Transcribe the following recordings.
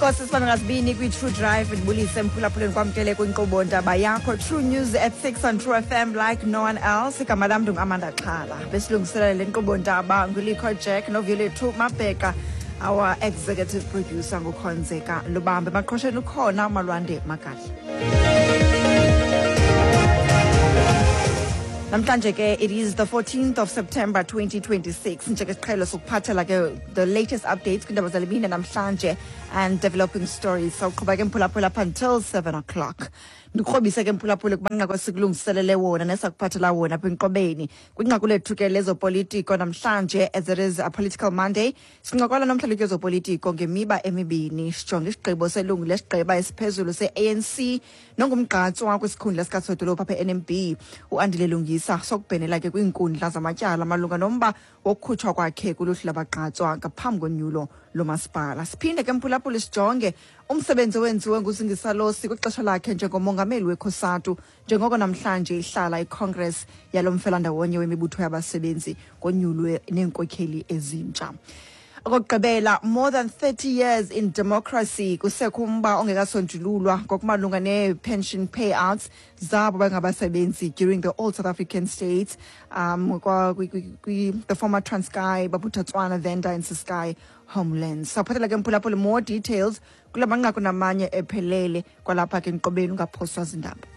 Enkosi sibambe ngazibini kwi-True Drive. Ndibulise mphulaphuleni, kwamkele kwinkqubo ndaba yakho True News at 6 on True FM like no one else. Igama lam ndinguAmanda Xhala. Besilungiselela le nkqubo ndaba nguLikho Jack noViolethu Mabheka. Our executive producer nguKhonzeka Lubambe. Maqhosheni ukhona uMalwande Magadla. Namhlanje ke it is the 14th of September 2026. Njengesiqhelo sokuphathela ke the latest updates kwindaba zale mini namhlanje and developing stories. Sawuqhuba ke mphulaphula up until 7 o'clock. Ndikrobise ke mphulaphula kumanqaku esikulungiselele wona nesakuphathela wona apha enkqobeni. Kwinqaku lethu ke lezopolitiko namhlanje, as it is a political Monday, sincokola nomhlalutyi wezopolitiko ngemiba emibini. Sijonge isigqibo selungu lesigqeba esiphezulu se-ANC nongumgqatswa kwisikhundla sikasodolophu apha e-NMB uAndile Lungisa sokubhenela ke kwiinkundla zamatyala malunga nomba wokukhutshwa kwakhe kuluhlu labagqatswa ngaphambi konyulo lomasipala. Siphinde ke mphulaphula sijonge umsebenzi owenziwe nguZingisa Losi kwixesha lakhe njengomongameli weCOSATU, njengoko namhlanje ihlala iCongress yalo mfelandawonye wemibutho yabasebenzi konyulwe neenkokheli ezintsha. Okokugqibela, more than 30 years in democracy, kusekho umba ongekasonjululwa ngokumalunga nee-pension payouts zabo bangabasebenzi during the old South African states, the former Transkei, Bophuthatswana, Venda and Ciskei homelands. Sawuphathela ke mphulaphula more details kula manqaku namanye ephelele kwalapha ke nkqobeni, ungaphoswa zindaba.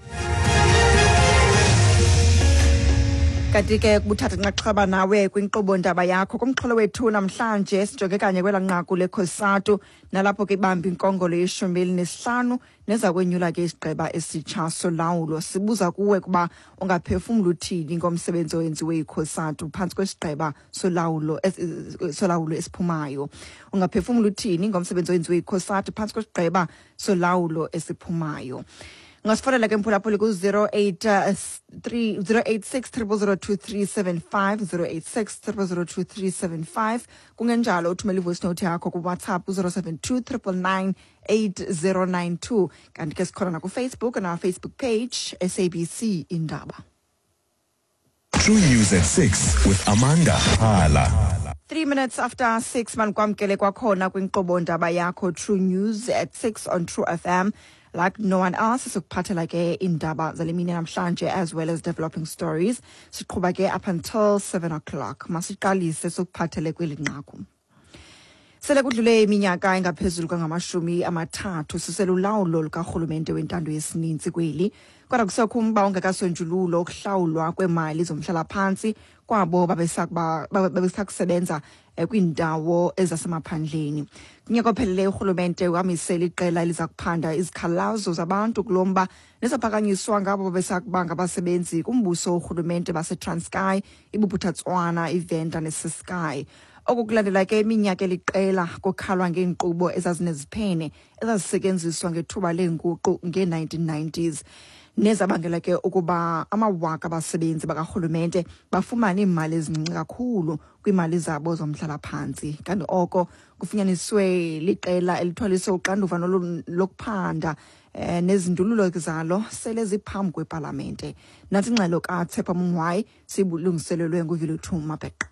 Kanti ke kubuthatha inxaxheba nawe kwinkqubo ndaba yakho kumxholo wethu namhlanje, sijonge kanye kwela nqaku leCOSATU nalapho ke ibamba inkongolo ye-15 neza kwenyula ke isigqeba esitsha solawulo. Sibuza kuwe kuba ungaphefumla uthini ngomsebenzi owenziwe yiCOSATU phantsi kwesigqeba solawulo esiphumayo. Ungaphefumla uthini ngomsebenzi owenziwe yiCOSATU phantsi kwesigqeba solawulo esiphumayo? Ungasifonela ke mphulaphuli ku-083 086 0002375, 086 0002375. Kungenjalo uthumele ivoice note yakho kuWhatsApp ku-072 999 8092. Kanti ke sikhona nakuFacebook, on our Facebook page, SABC Indaba. True News at 6 with Amanda Hala. 3 minutes after 6, manikwamkele kwakhona kwinkqubo ndaba yakho True News at 6 on True FM like no one else. Sikuphathela ke iindaba zale mini namhlanje as well as developing stories. Siqhuba ke up until 7 o'clock. Masiqalise sikuphathele kweli nqaku. Sele kudlule iminyaka engaphezulu kangama-30 siselulawulo lukarhulumente wentando yesininzi kweli, kodwa kusekho umba ongekasonjululwa ukuhlawulwa kweemali zomhlalaphantsi kwabo babesakusebenza kwiindawo ezasemaphandleni. Kunyaka opheleleyo urhulumente wamisela iqela eliza kuphanda izikhalazo zabantu kulo mba nezaphakanyiswa ngabo babesakuba ngabasebenzi kumbuso worhulumente baseTranskei, iBophuthatswana, iVenda neCiskei. Oku kulandela ke iminyaka eliqela kukhalwa ngeenkqubo ezazineziphene ezazisetyenziswa ngethuba leenguqu ngee-1990s nezabangela ke ukuba amawaka abasebenzi bakarhulumente bafumane iimali ezincinci kakhulu kwiimali zabo zomhlalaphantsi. Kanti oko kufunyaniswe liqela elithwaliswe uxanduva lokuphanda nezindululo zalo sele ziphambi kwepalamente. Nantsi ingxelo kaTshepo Mongwayi sibulungiselelwe nguViluthu Mabheqa.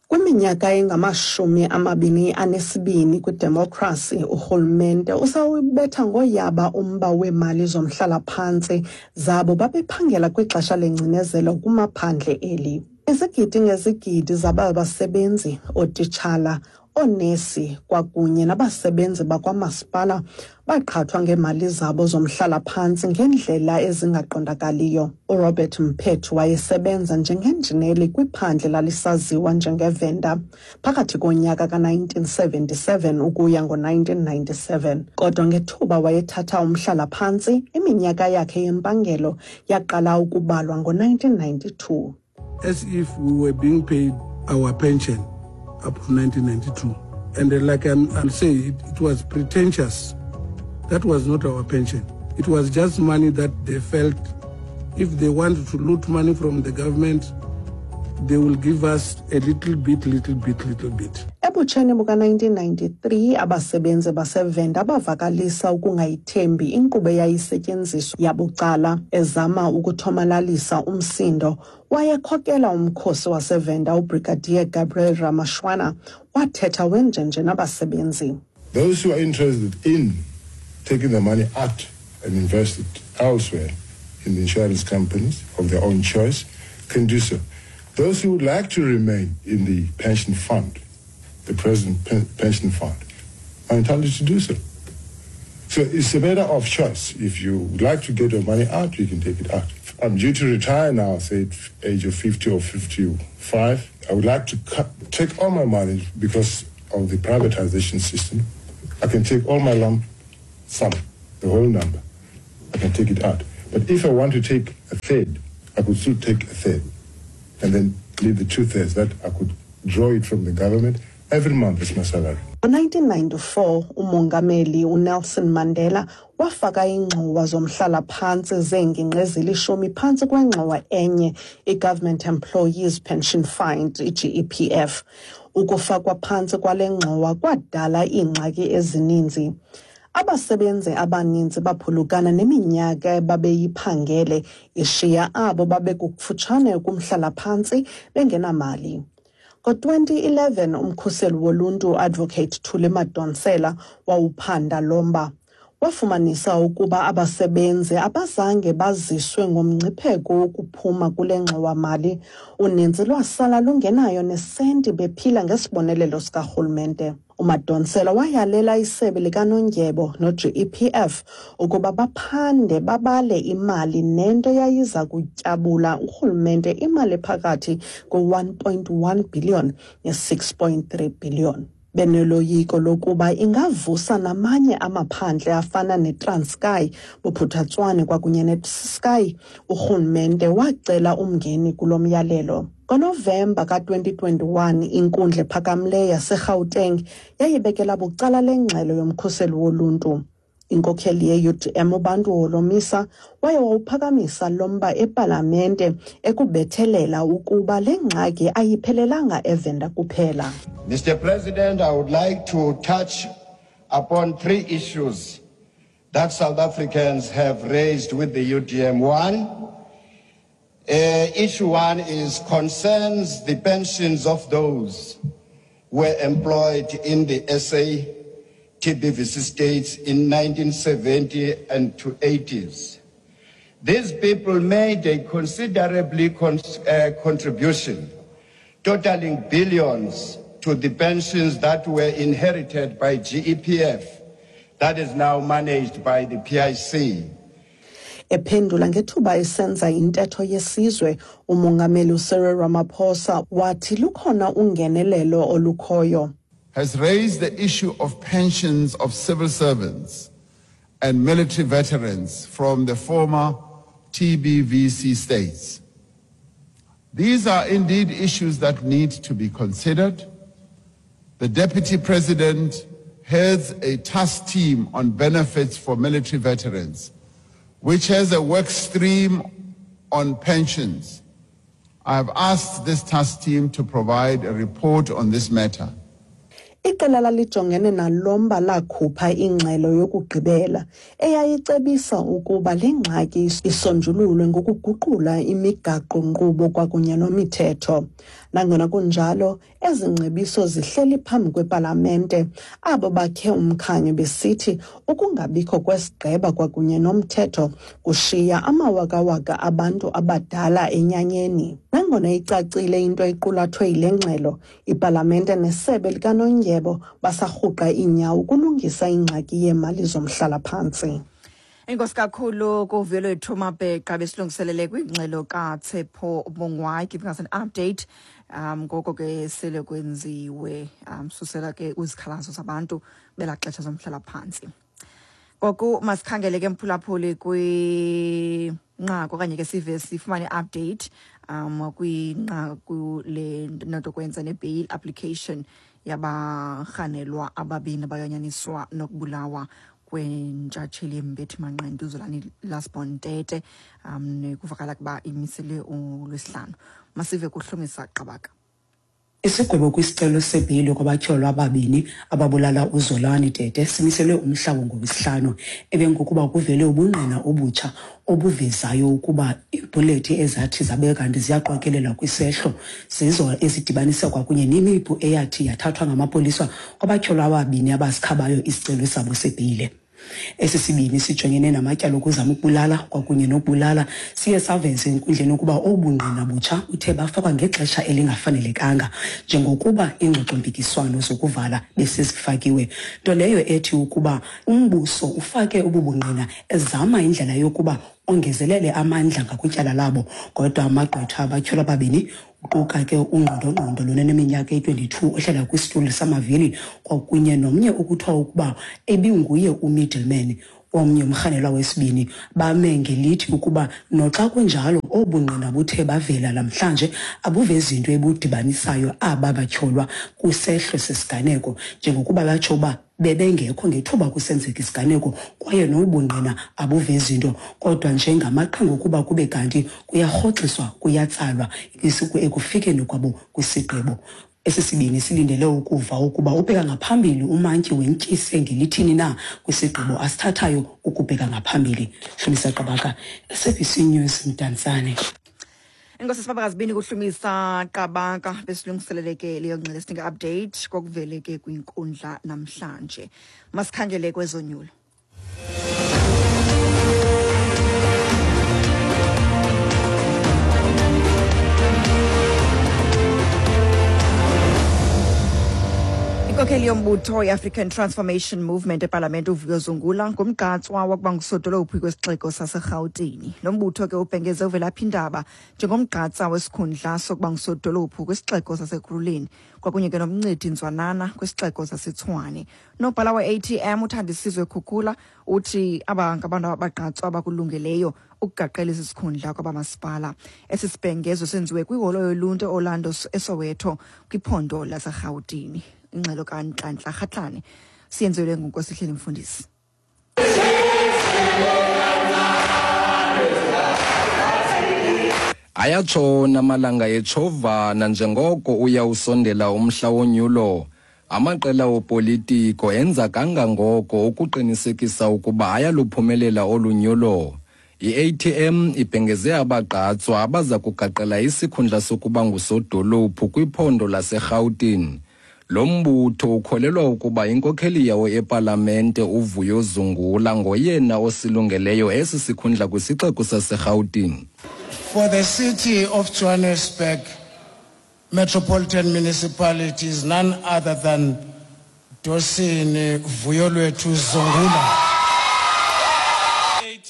Kwiminyaka engama-22 kwidemokhrasi, urhulumente usawubetha ngoyaba umba weemali zomhlalaphantsi zabo babephangela kwixesha lengcinezelo kumaphandle eli. Izigidi ngezigidi zaba basebenzi, ootitshala, oonesi kwakunye nabasebenzi bakwamasipala baqhathwa ngeemali zabo zomhlalaphantsi ngeendlela ezingaqondakaliyo. URobert Mphethu wayesebenza njengenjineli kwiphandle lalisaziwa njengeVenda phakathi konyaka ka-1977 ukuya ngo-1997. Kodwa ngethuba wayethatha umhlalaphantsi, iminyaka yakhe yempangelo yaqala ukubalwa ngo-1992. As if we were being paid our pension up to 1992. And like I'm saying, it was pretentious. That was not our pension. It was just money that they felt if they wanted to loot money from the government, they will give us a little bit, little bit, little bit. Ebutsheni buka-1993, abasebenzi baseVenda bavakalisa ukungayithembi inkqubo eyayisetyenziswa yabucala. Ezama ukuthomalalisa umsindo, wayekhokela umkhosi waseVenda uBrigadier Gabriel Ramashwana wathetha wenjenje nabasebenzi. Those who are interested in taking the money out and invest it elsewhere in the insurance companies of their own choice can do so. Those who would like to remain in the pension fund, the present pension fund, are entitled to do so. So it's a matter of choice. If you would like to get your money out, you can take it out. I'm due to retire now, say at age of 50 or 55. I would like to take all my money because of the privatization system. I can take all my lump sum, the whole number. I can take it out. But if I want to take a third, I could still take a third and then leave the 2/3 that I could draw it from the government every month as my salary. Ngo-1994 uMongameli uNelson Mandela wafaka iingxowa zomhlala-phantsi zeengingqi ezilishumi phantsi kwengxowa enye iGovernment Employees Pension Fund, iGEPF. Ukufakwa phantsi kwale ngxowa kwadala iingxaki ezininzi. Abasebenzi abaninzi baphulukana neminyaka babeyiphangele ishiya abo babekufutshane kumhlala-phantsi bengenamali. Ngo-2011 umkhuseli woluntu Advocate Thuli Madonsela wawuphanda lo mba. Wafumanisa ukuba abasebenzi abazange baziswe ngomngcipheko wokuphuma kule ngxowa-mali. Uninzi lwasala lungenayo nesenti bephila ngesibonelelo sikarhulumente. UMadonsela wayalela isebe likanondyebo no-GEPF ukuba baphande babale imali nento yayiza kutyabula urhulumente imali phakathi kwe-1.1 billion ne-6.3 billion. Benoloyiko lokuba ingavusa namanye amaphandle afana neTranskei, Bophuthatswana kwakunye neCiskei, urhulumente wacela umngeni kulo myalelo. NgoNovemba ka-2021 inkundla ephakamileyo yaseGauteng yayibekela bucala le ngxelo yomkhuseli woluntu. Inkokheli ye-UDM uBantu Holomisa waye wawuphakamisa lo mba epalamente ekubethelela ukuba le ngxaki ayiphelelanga eVenda kuphela. Mr. President, I would like to touch upon three issues that South Africans have raised with the UDM. One, issue one is concerns the pensions of those who were employed in the SA TBVC states in 1970 and to 80s. These people made a considerably contribution, totaling billions to the pensions that were inherited by GEPF, that is now managed by the PIC. Ephendula ngethuba esenza intetho yesizwe, uMongameli uCyril Ramaphosa wathi lukhona ungenelelo olukhoyo. Has raised the issue of pensions of civil servants and military veterans from the former TBVC states. These are indeed issues that need to be considered. The Deputy President heads a task team on benefits for military veterans, which has a work stream on pensions. I have asked this task team to provide a report on this matter. Iqela lalijongene nalo mba lakhupha ingxelo yokugqibela eyayicebisa ukuba le ngxaki isonjululwe ngokuguqula imigaqo-nkqubo kwakunye nomithetho. Nangona kunjalo, ezi ngcebiso zihleli phambi kwepalamente, abo bakhe umkhanyo besithi ukungabikho kwesigqeba kwakunye nomthetho kushiya amawakawaka abantu abadala enyanyeni. Nangona icacile into equlathwe yile ngxelo, ipalamente nesebe likanondyebo basarhuqa iinyawo ukulungisa ingxaki yeemali zomhlalaphantsi. Enkosi kakhulu kuVuyolwethu Mabheqa besilungiselele kwingxelo kaTshepo Bongwai giving us an update ngoko ke sele kwenziwe susela ke kwizikhalazo zabantu belaa xesha zomhlalaphantsi. Ngoku masikhangele ke mphulaphuli kwinqaku okanye ke sive sifumane i-update kwinqaku le nto kwenza ne-bail application yabarhanelwa ababini abayanyaniswa nokubulawa kwentshatsheli yembethi manqindi uZolani Lastborn Tete nekuvakala ukuba imisele uLwesihlanu. Masive kuHlomisa Qabaka. Isigwebo kwisicelo sebheyile kwabatyholwa ababini ababulala uZolani Tete simiselwe umhla wangolwesihlanu emveni kokuba kuvele ubungqina obutsha obuvezayo ukuba iibhulethi ezathi zabe kanti ziyaqokelelwa kwisehlo zizo ezidibanisa kwakunye nemipu eyathi yathathwa ngamapolisa kwabatyholwa ababini abasikhabayo isicelo sabo sebheyile. Esi sibini sijongene namatyala okuzama ukubulala kwakunye nokubulala siye saveza enkundleni ukuba obu bungqina butsha buthe bafakwa ngexesha elingafanelekanga njengokuba iingxoxompikiswano zokuvala besezifakiwe, nto leyo ethi ukuba umbuso ufake obu bungqina ezama indlela yokuba ongezelele amandla ngakwityala labo. Kodwa amagqwetha abatyholwa ababini uquka ke ungqondongqondo lona neminyaka eyi-22 ohlala kwisitulo samavili kwakunye nomnye okuthiwa ukuba ebinguye umiddleman omnye umrhanelwa wesibini bame ngelithi ukuba noxa kunjalo obu bungqina buthe bavela namhlanje abuvezi nto ebudibanisayo aba batyholwa kwisehlo sesiganeko njengokuba batsho uba bebengekho ngethuba kusenzeka isiganeko kwaye nobungqina abuvezi nto kodwa njengamaqhinga okuba kube kanti kuyarhoxiswa kuyatsalwa ekufikeni kwabo kwisigqibo. Esi sibini silindele ukuva ukuba ubheka ngaphambili umantyi wentyise ngelithini na kwisigqibo asithathayo ukubheka ngaphambili. Hlumisa Qabaka, SABC News, Mdantsane. Enkosi sibabakazibini kuhlumisa Qabaka besilungiselele ke leyo ngxelo sinika update kokuvele ke kwinkundla namhlanje. Masikhangele kwezonyulo. Inkokheli yombutho i-African Transformation Movement epalamente uVuyo Zungula ngumgqatswa wakuba ngusodolophu kwesixeko saseRhawutini. Lo mbutho ke ubhengeze uVelaphi Ndaba njengomgqatsa wesikhundla sokuba ngusodolophu kwisixeko saseKurhuleni kwakunye ke nomncedi Nzwanana kwisixeko saseTshwane. Unobhala we-ATM uThandisizwe Khukula uthi aba ngabantu abagqatswa abakulungeleyo ukugaqela esi sikhundla kwabamasipala. Esi sibhengezo senziwe kwiholo yoluntu eOrlando eSoweto kwiphondo laseRhawutini. Ingxelo kaNtlantla Rhatlane siyenzelwe nguNkosihleli Mfundisi. Ayatshona amalanga etshovana njengoko uya usondela umhla wonyulo. Amaqela opolitiko enza kangangoko ukuqinisekisa ukuba ayaluphumelela olu nyulo. I-ATM ibhengeze abagqatswa abaza kugaqela isikhundla sokuba ngusodolophu kwiphondo laseRhawutini. Lo mbutho ukholelwa ukuba inkokheli yawo epalamente uVuyo Zungula ngoyena osilungeleyo esi sikhundla kwisixeko saseRhawutini. For the city of Johannesburg Metropolitan Municipality is none other than Dosini Vuyolwethu Zungula.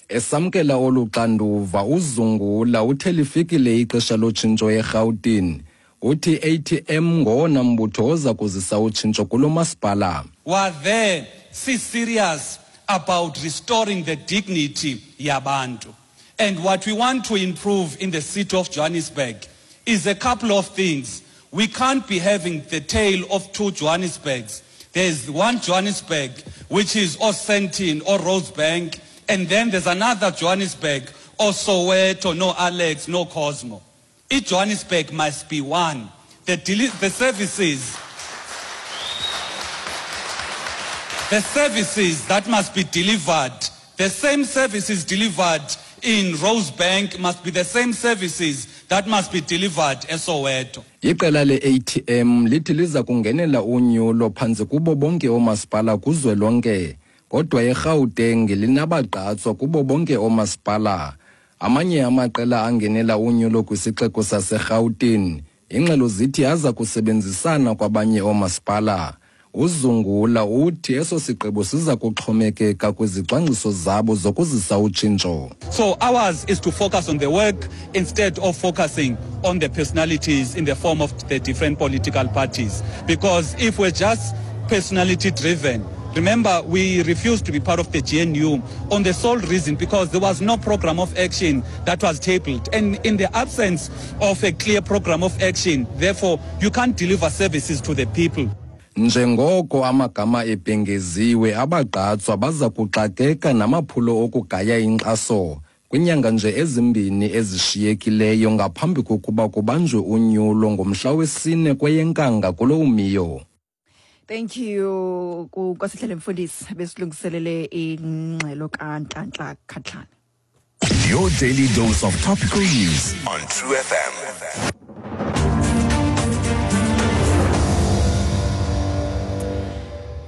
Esamkela olu xanduva uZungula uthe lifikile ixesha lotshintsho eRhawutini. Uthi ATM ngowona mbutho oza kuzisa utshintsho kulo masipala. Were there si-serious about restoring the dignity yabantu. And what we want to improve in the city of Johannesburg is a couple of things. We can't be having the tale of two Johannesburgs. There's one Johannesburg, which is or Sandton or Rosebank, and then there's another Johannesburg, or Soweto, no Alex, no Cosmo. Each Johannesburg must be one. The, the services, the services that must be delivered, the same services delivered in Rosebank must be the same services that must be delivered eSoweto. Iqela le-ATM lithi liza kungenela unyulo phantsi kubo bonke oomasipala kuzwelonke, kodwa eGauteng linabagqatswa kubo bonke oomasipala. Amanye amaqela angenela unyulo kwisixeko saseRhawutini, ingxelo zithi aza kusebenzisana kwabanye oomasipala. UZungula uthi eso sigqibo siza kuxhomekeka kwizicwangciso zabo zokuzisa utshintsho. So ours is to focus on the work instead of focusing on the personalities in the form of the different political parties. Because if we're just personality driven, remember we refused to be part of the GNU on the sole reason because there was no program of action that was tabled. And in the absence of a clear program of action, therefore, you can't deliver services to the people. Njengoko amagama ebhengeziwe, abagqatswa baza kuxakeka namaphulo okugaya inkxaso. Kwiinyanga nje ezimbini ezishiyekileyo ngaphambi kokuba kubanjwe unyulo ngomhla wesine kweyeNkanga kulo umiyo. Thank you kuNkosihlele Mfundisi besilungiselele ingxelo kaNtlantla Khatlana. Your daily dose of topical news on True FM.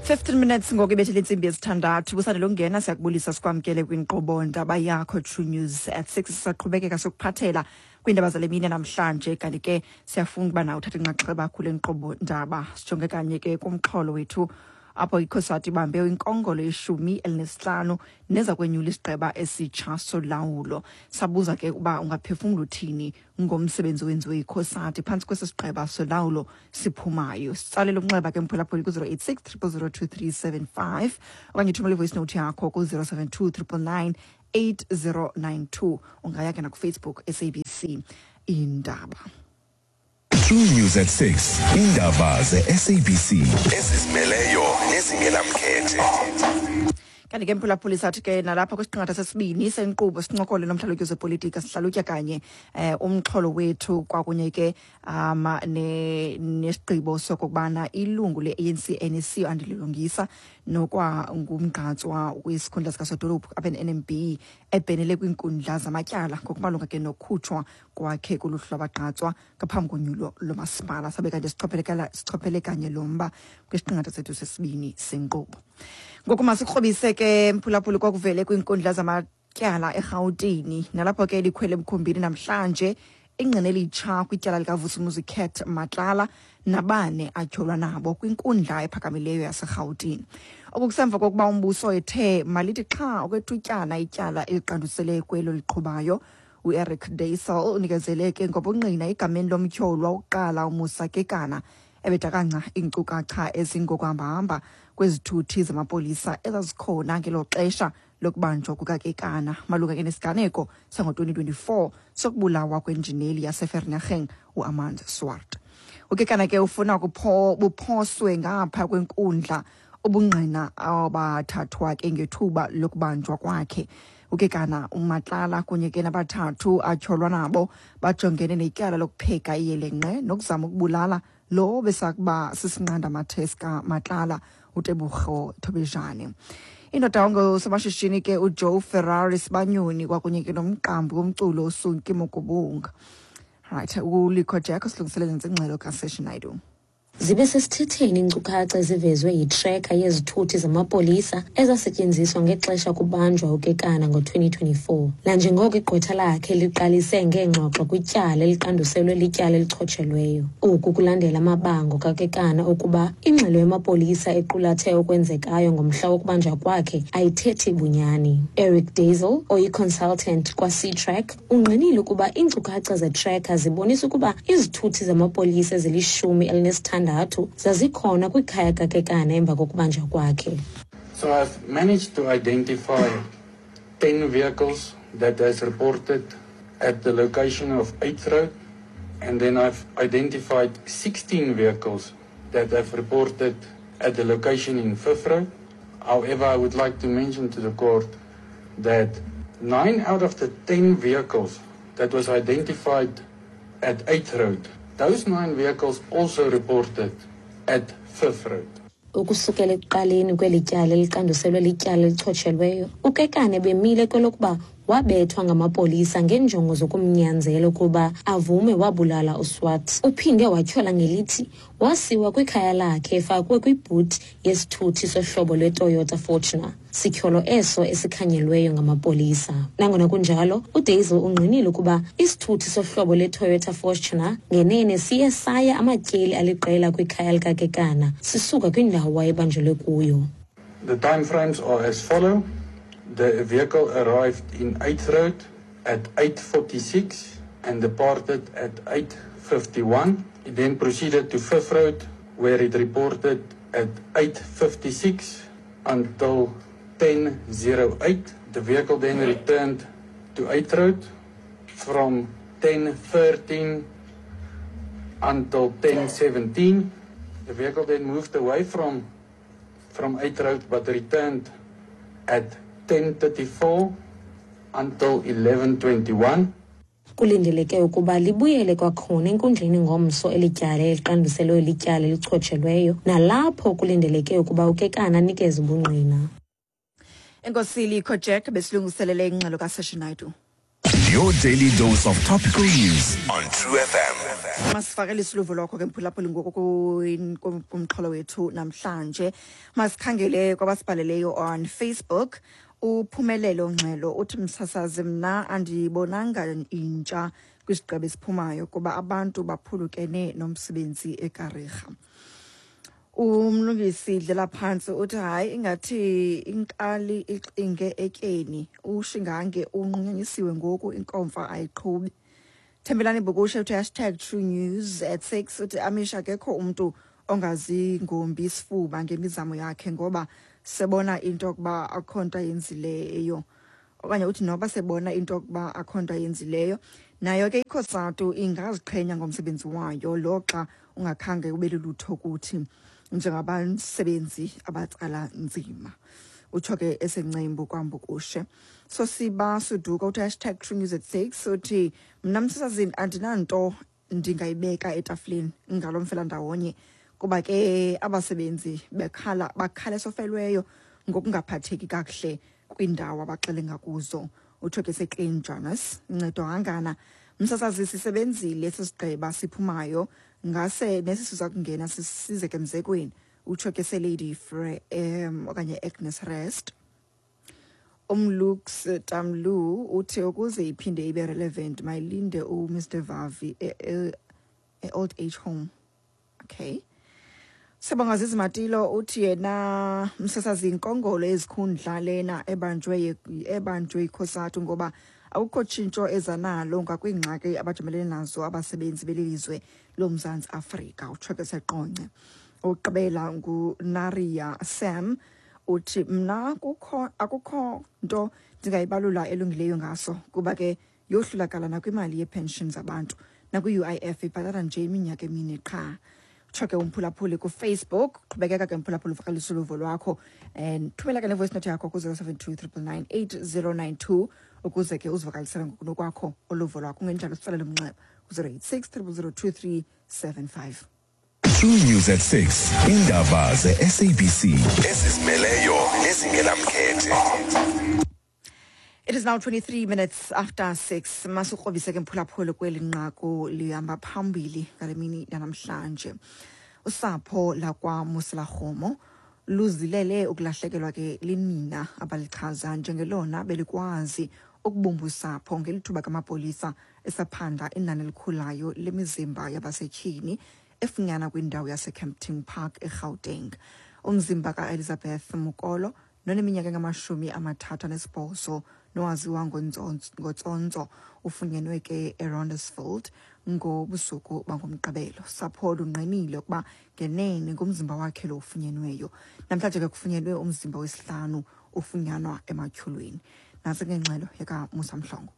15 minutes ngoku ibethele intsimbi yesithandathu. Busande lokungena, siyakubulisa sikwamkele kwinkqubo ndaba yakho True News at 6. Sisaqhubekeka sokuphathela kwiindaba zale mini namhlanje, kanti ke siyafuna ukuba nawe uthathe inxaxheba kule nkqubo ndaba. Sijonge kanye ke kumxholo wethu apho ikhosati ibambe inkongolo yeshumi elinesihlanu neza kwenyula isigqeba esitsha solawulo. Sabuza ke uba ungaphefumla uthini ngomsebenzi owenziwe yikhosati phantsi kwesi sigqeba solawulo siphumayo. Sitsalele umnxeba ke mphulaphuli ku-086 000 2375 okanye uthumele ivoice note yakho ku-072 999 8092. Ungaya ke nakuFacebook SABC Indaba. True News at 6. Indaba ze-SABC ezizimeleyo nezingenamkhethe. Kanti ke mphulaphuli, sathi ke nalapha kwisiqingatha sesibini senkqubo sincokole nomhlalutyi wezepolitika, sihlalutya kanye umxholo wethu kwakunye ke nesigqibo sokokubana ilungu le-ANC NEC uAndile Lungisa nokwa ngumgqatswa kwisikhundla sikasodolophu apha e-NMB ebhenele kwiinkundla zamatyala ngokumalunga ke nokukhutshwa kwakhe kuluhlu lwabagqatswa ngaphambi konyulo lomasipala. Sabe kanti sichophele kanye lo mba kwisiqingatha sethu sesibini senkqubo. Ngoku masikrobise ke mphulaphuli kwakuvele kwiinkundla zamatyala eRhawutini, nalapho ke likhwele emkhumbini namhlanje ingqina elitsha kwityala likaVusumuzi Cat Matlala nabane atyholwa nabo kwinkundla ephakamileyo yaseRhawutini. Oku kusemva kokuba umbuso ethe malithi xha okwethutyana ityala eliqandusele kwelo liqhubayo. UEric Deysel unikezele ke ngobungqina egameni lomtyholwa wokuqala uMusa Kekana, ebedakanca iinkcukacha ezingokuhambahamba kwezithuthi zamapolisa ezazikhona ngelo xesha lokubanjwa kukaKekana malunga ke nesiganeko sango-2024 sokubulawa kwenjineli yaseVereeniging uArmand Swart. UKekana ke ufuna buphoswe ngapha kwenkundla ubungqina abathathwa ke ngethuba lokubanjwa kwakhe. UKekana, uMatlala kunye ke nabathathu atyholwa nabo bajongene netyala lokupheka iyelenqe nokuzama ukubulala lo besakuba sisinqandamathe sikaMatlala uTebogo Thobejane. Indoda ongusomashishini ke uJoe Ferrari Sibanyoni kwakunye ke nomqambi womculo uSunki Mokubunga. Right, uLikho Jack usilungiselele ingxelo kaSesh Naidu. Zibe sesithetheni iinkcukacha ezivezwe yitreka yezithuthi zamapolisa ezasetyenziswa ngexesha kubanjwa uKekana ngo-2024. Nanjengoko igqwetha lakhe liqalise ngeengxoxo kwityala eliqanduselwe lityala elichotshelweyo. Oku kulandela amabango kaKekana okuba ingxelo yamapolisa equlathe okwenzekayo ngomhla wokubanjwa kwakhe ayithethi bunyani. Eric Deysel, oyi-consultant kwa-Ctrack, ungqinile ukuba iinkcukacha zetreka zibonisa ukuba izithuthi zamapolisa ezili-16 zazikhona kwikhaya kaKekana emva kokubanjwa kwakhe. So I've managed to identify 10 vehicles that has reported at the location of 8th Road, and then I've identified 16 vehicles that have reported at the location in 5th Road. However, I would like to mention to the court that 9 out of the 10 vehicles that was identified at 8th Road, those 9 vehicles also reported at 5th Road. Ukusukela ekuqaleni kweli tyala eliqanduselwe lityala elichotshelweyo, uKekana bemile kwelokuba wabethwa ngamapolisa ngeenjongo zokumnyanzela ukuba avume wabulala uSwart. Uphinde watyhola ngelithi wasiwa kwikhaya lakhe efakwe kwibhuti yesithuthi sohlobo lweToyota Fortuner, sityholo eso esikhanyelweyo ngamapolisa. Nangona kunjalo, uDeysel ungqinile ukuba isithuthi sohlobo lweToyota Fortuner ngenene siye saya amatyeli aliqela kwikhaya likaKekana sisuka kwindawo wayebanjelwe kuyo. The time frames are as follow. The vehicle arrived in 8th Road at 8:46 and departed at 8:51. It then proceeded to 5th Road, where it reported at 8:56 until 10:08. The vehicle then returned to 8th Road from 10:13 until 10:17. The vehicle then moved away from 8th Road but returned at 10:34 until 11:21. Kulindeleke ukuba libuyele kwakhona enkundleni ngomso eli tyala eliqanduselwe lityala elichotshelweyo, nalapho kulindeleke ukuba uKekana anikeze ubungqina. Enkosi Likho Jack, besilungiselele ingxelo kaSession Naidu. Your daily dose of topical news on True FM. Masifakele isiluvo lwakho ke mphulaphuli ngoku kumxholo wethu namhlanje. Masikhangele kwabasibhaleleyo on Facebook. Uphumelelo Ngxelo uthi, msasazi, mna andiyibonanga intsha kwisigqeba esiphumayo kuba abantu baphulukene nomsebenzi eKariga. Umlungisi Dlela phantsi uthi hayi, ingathi inkali ixinge etyeni, ushingange unqunyanyisiwe ngoku, inkomfa ayiqhubi. Thembelani Bukushe uthi #TrueNews at 6, uthi amisha akekho umntu ongazingombi isifuba ngemizamo yakhe ngoba sebona into yokuba akho nto ayenzileyo, okanye uthi noba sebona into yokuba akho nto ayenzileyo. Nayo ke iCOSATU ingaziqhenya ngomsebenzi wayo loxa ungakhange ube lulutho kuthi njengabasebenzi abatsala nzima, utsho ke esencembu kwaMbukushe. Sosiba Suduka uthi #TrueNews at 6, uthi mna msasazini andinanto ndingayibeka etafileni ngalo mfelandawonye kuba ke abasebenzi bekhala bakhala esofelweyo ngokungaphatheki kakuhle kwiindawo abaxelenga kuzo, utsho ke seClean Jonas. Ncedo hangana msasazi, sisebenzile esi sigqeba siphumayo, ngase nesi siza kungena size ke mzekweni, utsho ke seLady Fre okanye Agnes Rest. Umlux Tamlu uthi ukuze iphinde ibe relevant mayilinde uMr Vavi e-old age home. Okay. Siyabonga Zizi Matilo uthi yena, msasazi, inkongolo ezikhundla lena ebanjwe iCOSATU ngoba akukho tshintsho ezanalo ngakwingxaki abajamelene nazo abasebenzi belizwe loMzantsi Afrika, utsho ke seQonce. Uqabela nguNaria Sam uthi mna kukho akukho nto ndingayibalula elungileyo ngaso kuba ke yohlulakala nakwimali yepension zabantu nakwi-UIF ibhatala nje iminyaka emine qha, utsho ke umphulaphuli kuFacebook. Qhubekeka ke mphulaphuli uvakalisa uluvo lwakho and thumela ke nevoice note yakho ku-072 999 8092 ukuze ke uzivakalisele ngokunokwakho uluvo lwakho. Kungenjalo sitsalele umnxeba ku-086 000 2375. True News at 6. Indaba ze-SABC ezizimeleyo nezingenamkhethe. It is now 23 minutes after 6. Masukrobise ke mphulaphuli kweli nqaku lihamba phambili ngale mini yanamhlanje. Usapho lakwaMoselakgomo luzilele ukulahlekelwa ke linina abalichaza njengelona belikwazi ukubumba usapho ngelithuba kamapolisa esaphanda inani elikhulayo lemizimba yabasetyhini efunyanwa kwindawo yaseKempton Park eGauteng. Umzimba kaElizabeth Mokolo noneminyaka engama-38 nowaziwa ngoTsontso ufunyenwe ke eRondesfield ngobusuku bangoMgqibelo. Sapho lungqinile ukuba ngenene ngumzimba wakhe lo ufunyenweyo. Namhlanje ke kufunyenwe umzimba wesihlanu ufunyanwa ematyhulweni. Nantsi ke ingxelo yakaMusa Mhlongo.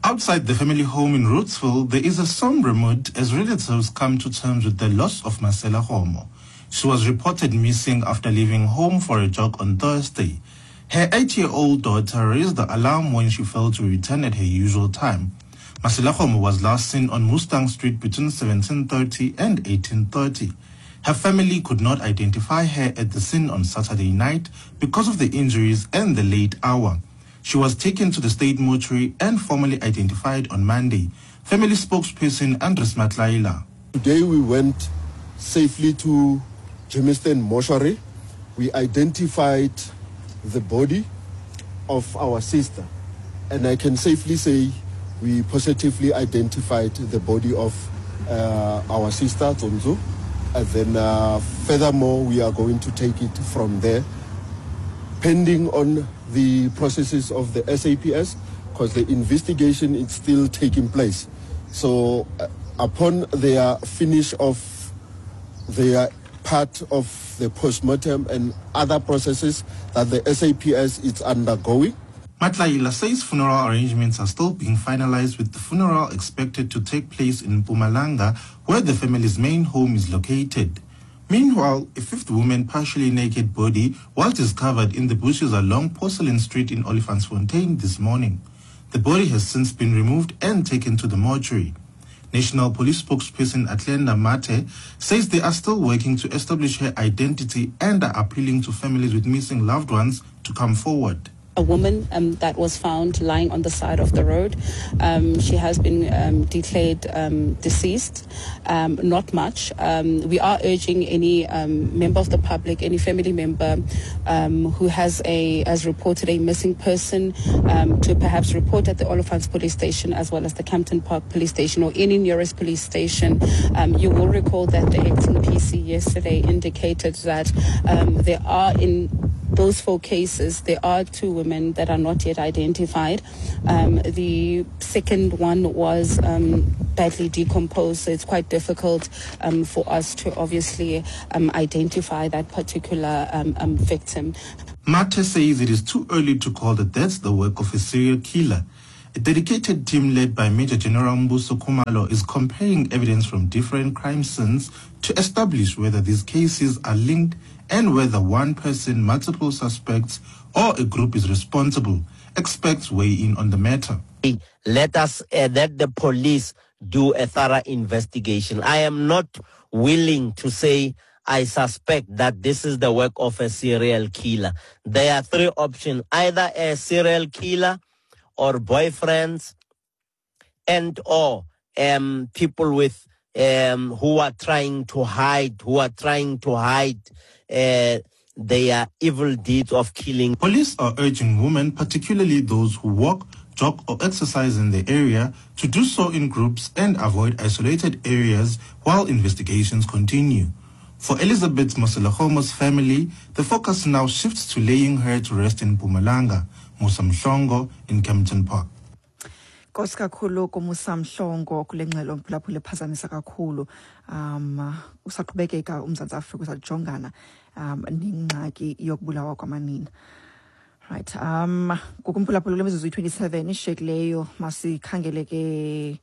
Outside the family home in Rootsville, there is a sombre mood as relatives come to terms with the loss of Marcella Homo. She was reported missing after leaving home for a jog on Thursday. Her 8-year-old daughter raised the alarm when she failed to return at her usual time. Marcella Homo was last seen on Mustang Street between 17:30 and 18:30. Her family could not identify her at the scene on Saturday night because of the injuries and the late hour. She was taken to the state mortuary and formally identified on Monday. Family spokesperson Andres Matlaila. Today we went safely to Germiston mortuary. We identified the body of our sister. And I can safely say we positively identified the body of our sister, Tsonzo. And then furthermore, we are going to take it from there, pending on the processes of the SAPS, because the investigation is still taking place. So upon their finish of their part of the postmortem and other processes that the SAPS is undergoing. Matlaila says funeral arrangements are still being finalized, with the funeral expected to take place in Mpumalanga, where the family's main home is located. Meanwhile, a fifth woman partially naked body was discovered in the bushes along Porcelain Street in Olifantsfontein this morning. The body has since been removed and taken to the mortuary. National Police spokesperson Atlenda Mate says they are still working to establish her identity and are appealing to families with missing loved ones to come forward a woman um, that was found lying on the side of the road. Um, she has been um, declared um, deceased. Um, not much. Um, we are urging any member of the public, any family member who has a has reported a missing person to perhaps report at the Olifants Police Station as well as the Campton Park Police Station or any nearest police station. you will recall that the acting PC yesterday indicated that there are in those four cases, there are two women that are not yet identified. Um, the second one was um, badly decomposed, so it's quite difficult um, for us to obviously um, identify that particular um, um, victim. Mate says it is too early to call the deaths the work of a serial killer. A dedicated team led by Major General Mbuso Kumalo is comparing evidence from different crime scenes to establish whether these cases are linked and whether one person, multiple suspects, or a group is responsible. Experts weigh in on the matter. Let us uh, let the police do a thorough investigation. I am not willing to say I suspect that this is the work of a serial killer. There are three options either a serial killer or boyfriends and or um, people with um, who are trying to hide, who are trying to hide uh, their evil deeds of killing. Police are urging women, particularly those who walk, jog or exercise in the area, to do so in groups and avoid isolated areas while investigations continue. For Elizabeth Moselehomo's family, the focus now shifts to laying her to rest in Mpumalanga, Musa Mhlongo in Kempton Park. Nkosi kakhulu kumusa Mhlongo kule ngxelo mphulaphula ephazamisa kakhulu um usaqhubekeka uMzantsi Afrika usajongana um nengxaki yokubulawa kwamanina right um ngokumphulaphula kule mizuzu yi-27 ishiyekileyo masikhangele ke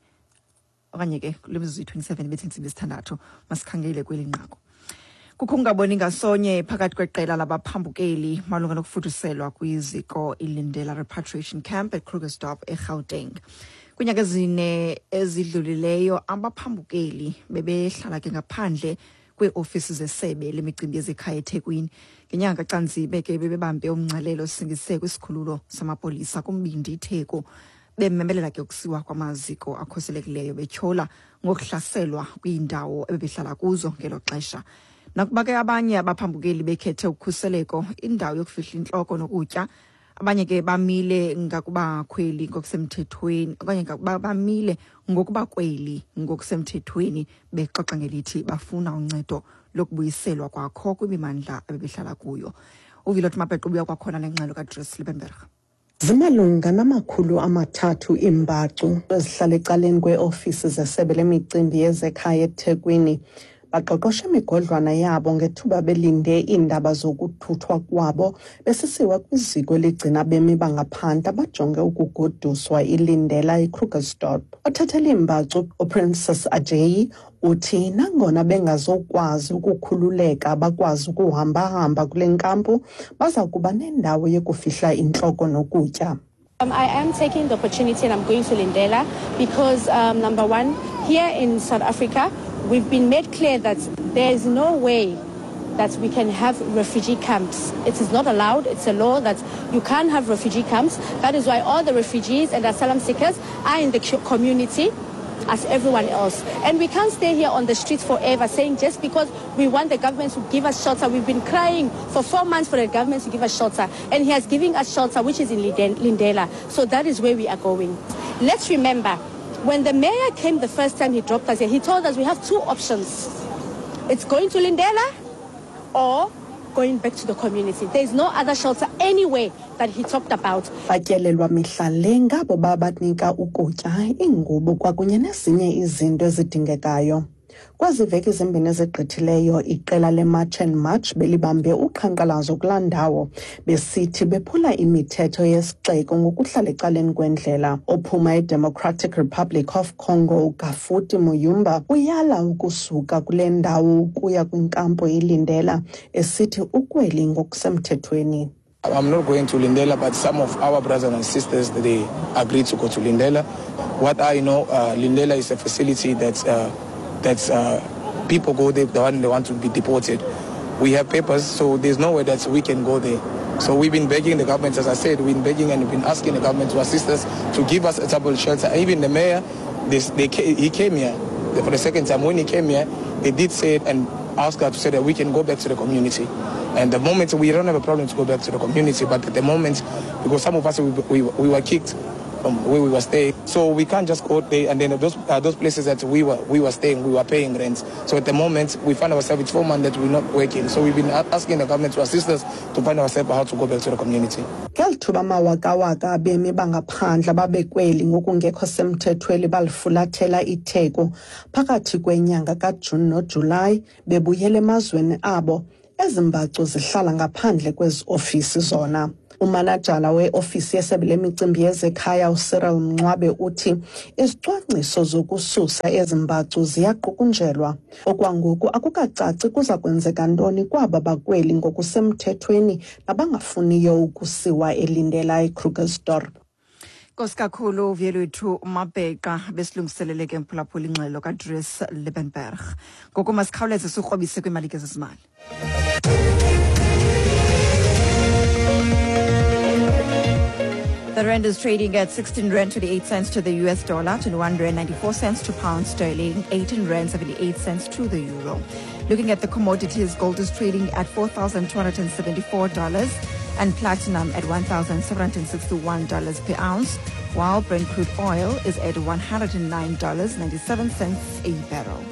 okanye ke kule mizuzu yi-27 bethe intsimbi yesithandathu masikhangele kweli nqaku Kukho ukungaboni ngasonye phakathi kweqela labaphambukeli malunga nokufuduselwa kwiziko iLindela Repatriation Camp eKrugersdorp eGauteng. Kwiinyanga ezine ezidlulileyo abaphambukeli bebehlala ke ngaphandle kweeofisi zesebe lemicimbi yezekhaya eThekwini. Ngenyanga kaCanzibe ke bebebambe umngcelele osingise kwisikhululo samapolisa kumbindi iTheku bememelela ke ukusiwa kwamaziko akhuselekileyo betyhola ngokuhlaselwa kwiindawo ebebehlala kuzo ngelo xesha. Nakuba ke abanye abaphambukeli bekhethe ukhuseleko, indawo yokufihla intloko nokutya, abanye ke bamile ngakubakhweli ngokusemthethweni okanye ngakuba bamile ngokuba kweli ngokusemthethweni bexoxa ngelithi bafuna uncedo lokubuyiselwa kwakho kwimimandla abebehlala kuyo. UVilot Mapeqo ubuya kwakhona nengxelo kaDries Liebenberg. Zimalunga namakhulu amathathu iimbacu ezihlala ecaleni kweeofisi zesebe lemicimbi yezekhaya eThekwini. Baqoqoshe imigodlwana yabo ngethuba belinde iindaba zokuthuthwa kwabo besisiwa kwiziko eligcina abemi bangaphandle abajonge ukugoduswa iLindela eKrugersdorp. Othethela iimbacu uPrincess Ajayi uthi nangona bengazokwazi ukukhululeka bakwazi ukuhambahamba kule nkampu baza kuba nendawo yokufihla intloko nokutya. Um, I am taking the opportunity and I'm going to Lindela because, um, number one, here in South Africa, we've been made clear that there is no way that we can have refugee camps. It is not allowed. It's a law that you can't have refugee camps. That is why all the refugees and asylum seekers are in the community as everyone else. And we can't stay here on the streets forever saying just because we want the government to give us shelter. We've been crying for four months for the government to give us shelter. And he has given us shelter, which is in Lindela. So that is where we are going. Let's remember, when the mayor came the first time he dropped us here, he told us we have two options. It's going to Lindela or going back to the community. There is no other shelter anywhere that he talked about. Batyelelwa mihla le ngabo babanika ukutya, iingubo kwakunye nezinye izinto ezidingekayo. Kwezi veki zimbini ezigqithileyo iqela leMarch and March belibambe uqhankqalazo kulaa ndawo besithi bephula imithetho yesixeko ngokuhlala ecaleni kwendlela. Ophuma eDemocratic Republic of Congo uGafuti Muyumba uyala ukusuka kule ndawo ukuya kwinkampu iLindela esithi ukweli ngokusemthethweni. I'm not going to Lindela, but some of our brothers and sisters, they agreed to go to Lindela. What I know, Lindela is a facility that's, that's people go there when they want to be deported. We have papers, so there's no way that we can go there. So we've been begging the government, as I said, we've been begging and we've been asking the government to assist us, to give us a double shelter. Even the mayor, this, they, he came here for the second time. When he came here, they did say it and ask us to say that we can go back to the community. And the moment, we don't have a problem to go back to the community, but at the moment, because some of us, we, we, we were kicked from where we were staying. So we can't just go there, and then those, those places that we were, we were staying, we were paying rent. So at the moment, we find ourselves, it's 4 months that we're not working. So we've been asking the government to assist us to find ourselves how to go back to the community. Ngeli thuba amawakawaka abemi bangaphandle ababekweli ngokungekho semthethweni balifulathela itheko phakathi kwenyanga kaJuni noJulayi bebuyela emazweni abo. Ezi mbacu zihlala ngaphandle kwezi ofisi zona. Umanejala weofisi yesebe lemicimbi yezekhaya uCyril Mncwabe uthi izicwangciso zokususa ezi mbacu ziyaqukunjelwa. Okwangoku akukacaci kuza kwenzeka ntoni kwaba bakweli ngokusemthethweni nabangafuniyo ukusiwa eLindela eKrugersdorp. Nkosi kakhulu Vuyelwethu Mabheqa besilungiselele ke mphulaphula ingxelo kaDries Liebenberg. Ngoku masikhawuleze sikrobise kwiimalike zezimali. The rand is trading at 16 rand 28 cents to the US dollar, 21 rand 94 cents to pound sterling, 18 rand 78 cents to the euro. Looking at the commodities, gold is trading at $4,274 and platinum at $1,761 per ounce, while Brent crude oil is at $109.97 a barrel.